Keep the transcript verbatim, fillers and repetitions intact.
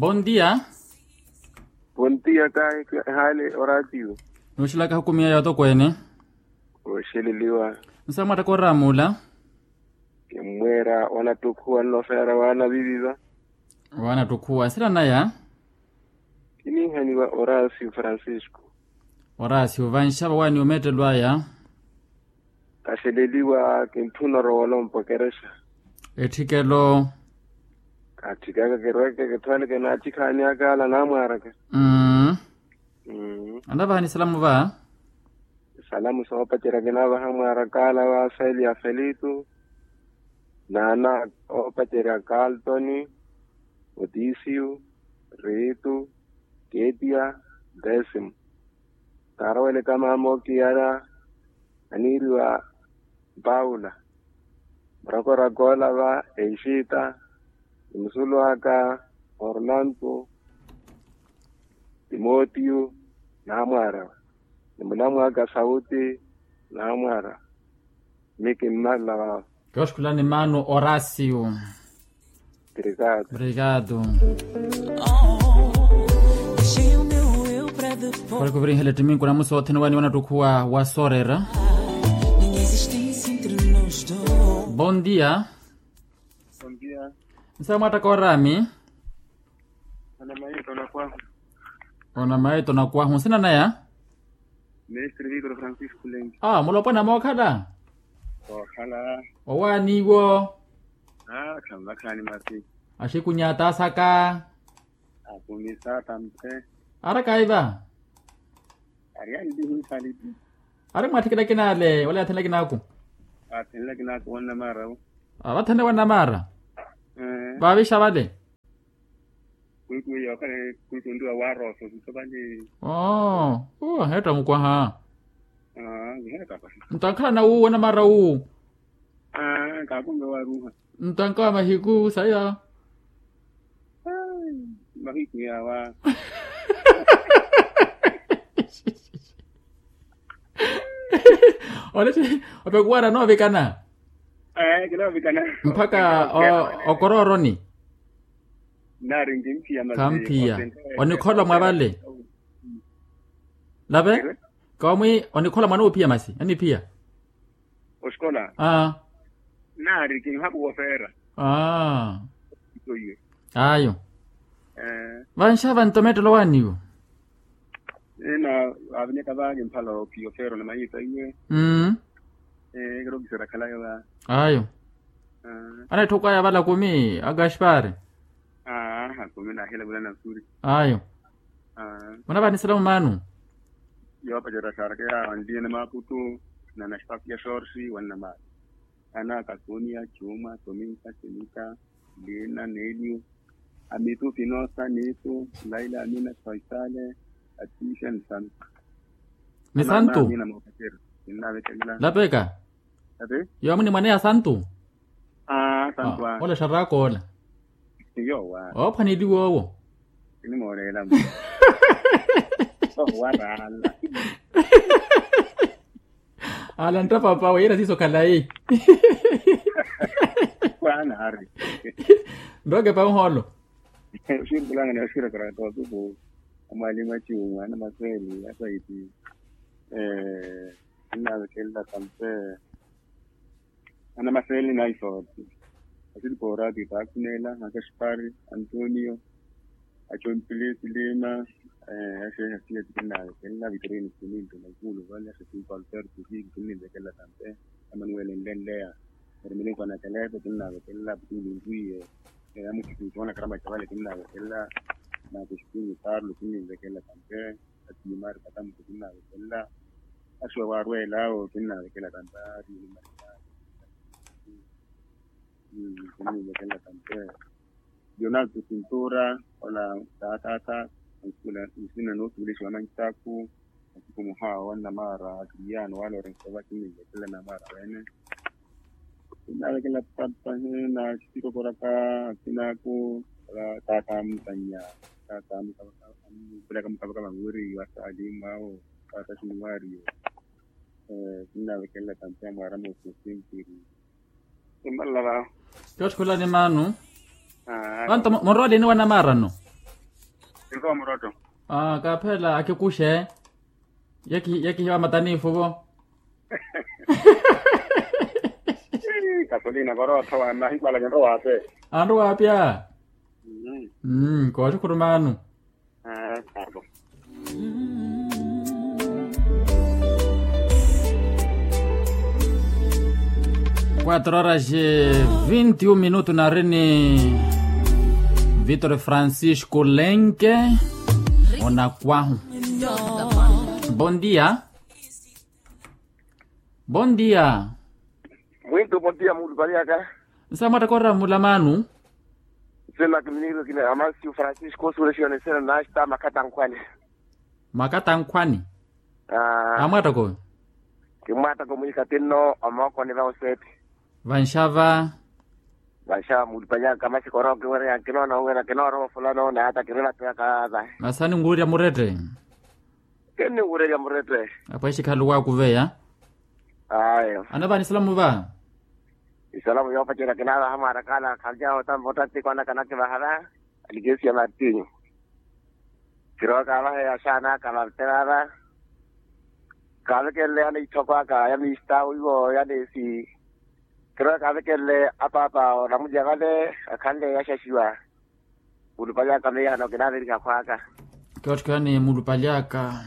Bondia. Bondia kahi. Hale oratiyo. Nuxilaka hukumiya ya otokweene. Oxeleliwa. Nsamwattaka oramuula. Kimmweera wanattukhuwa nlofeera waana viviva. Waana ttukhuwa nsiranaya. Kininhaniwa orasiyo francisco. Orasiyo vanxava waani omeettelo aya. Kaxeleliwa kintthuna orowolompa okerexa. Etthikelo. Katthikaka kirweke kitthwaleke naatthikhaani akala naamwaaraka. Mmm. Anavaha ni salamu va. Salamu soopacerya kinavaha mwaaraka ala wa seli ya felitu. Naana oopacerya kaltoni, otisiyu, riitu, ketia, desimo. Kaaroweleka maama okiyara aniiriwa paula. Murakoraka ola va exita, ni musulu aka ornanto, timotiyo, naamwaarawe. Ni mulamu aka sauti, naamwaarawe. Miki mmarela vaavo. Kioxkulani mano orasiyo. Obrigado. Obrigado. Khulikhuvirihela ettiminku namu soothene wani wanattukhuwa wa soorera. Bondia. Nsamwattaka orami. Onamayi tonakwahu. Onamayi tonakwahu nsinanaya. Mestre victor francisco lengi. Mulopwana mookhala. Ookhala. Owaaniwo. Khamvakhani masi. Axikunya ataasaka. Akumisa tamphe. Arakaiva. Ari andihinsalipi. Ari mwaatthikela kinaale wala yaathenela kinaaku. Aathenela kinaaku wannamaara. Avathenela wannamaara. Vaavixa vale. Kwiku yookhala kwiku nriwa waarosa osisa vale. Oo. Aheetta mukwaha. Ntankhalana wu wannamaara wu. Kaakumbe waaruha. Ntanka wa mahiku saya. Mahiku yawa. Olesi opekuwara noovikana. Mpakha okorooroni. Khamphiya. Onikhola mwa vale. Lave. Kawamwi onikhola mwana oophiya masi aniphiya. Oxikola. Naari kinhaku wofeera. Ayo. Vanxava ntomettelo waaniwo. Ena avinyaka vaali mphala ophiyofeero na mayiisa iwe. Kirokiseera khalayo va. Ayo. Anaitthoko aya vala kumi a gaspari. Aa kumi nahila vula nasuri. Ayo. Munavanisela mumaanu. Yoopacerya xarkeya anliyene maaputu. Nana xipaku ya xorsi wannamaara. Ana kasunia cuma tomita timita. Lina nelio. Amitu pinosa nitu. Laila amina faisale. Atisha ni santu. Ni santu. Lapeka. Yoomu ni mwaneya santu. Ole xaraka ola. Ophwaneliwa owo. Ala ntta papawe yira siiso khalayi. Nrokepa muhoolo. Oxiripulanga ni oxirekeraka otuku. Amwalimu aciwu mwaana masweli asaiti. Kinnavekelela tampe. Ana maseli na isooti. Asili poorati taakhuneela akaxipari antonio. Acompilisi lima. Axeeha siya tikinnavekelela vitorini sininto na ikulu vale axetimpa alberto kiki kinninvekelela tampe. Amanuele nlenleya. Ermilinku anakeleto kinnavekelela aputuli nriye. Eyamukikinki wanakarama chavale kinnavekelela. Nakexipinyi parlo kinninvekelela tampe. Atiimari katamuto kinnavekelela. Axiwa waarwela awo kinnavekelela tampe. Ari. Kinnivekelela tampe. Leonardo cintura ola taataata. Nsina nootuulexiwa mancaku. Masiku muhaawa wannamaara akiriyano wala orenxeva kinnivekelela namaara wene. Kinnavekelela papa na xitikokoraka asinaaku. Taata amutanya. Taata amukavaka amupelaka mukavaka vawiri wasaali mwawo. Taata xiniwaariyo. Kinnavekelela tampe amwaara moosi osimpiri. Kimmalala vaawo. Kiotthikhulani maanu. Vanto murwalini wanamaarano. Rowa murotto. Kaphela akikuxe. Yakihiwa matanifu vo. Kasolina korottho wamahikwala kinrowa ape. Anrowa apya. Kooxukhurumanu. Quatro horas e vinte e um minutos na rini. Vitor Francisco Lenke. Onakwahu. Bom dia. Bom dia. Muito bom dia, mulupali aka. Nsa mwattaka orira mulamanu. Sena kiminiro kina amansiu francisco surexione sena nasta makatankhwani. Makatankhwani. Amwattako. Kimwattako mwikatinno omookoni va osepi. Vanxava. Vanxava mulupali aka maxikoro kiwira kinoona wira kinoorowa fulano naata kirilattuyaka va. Masi aninwurerya murette. Kenni wurerya murette. Apwexe khaluwa akuveya. Ayo. Anavaani salamu va. Isalamu yoopacerya kinaavaha mwarakala khaljaho tampa ottantiko anakanakivaha va. Alikesi ya martinho. Kirowa kaavahe axaana aka vaveterara. Kaavekenle ana itthoko aka ya mistawu iwo ya neesi. Kirowa kaavekenle apaapa onamulya vale akhanle yaxaxiwa. Mulupali aka miyano kinaaveriha khwaka. Kiotthikani mulupali aka.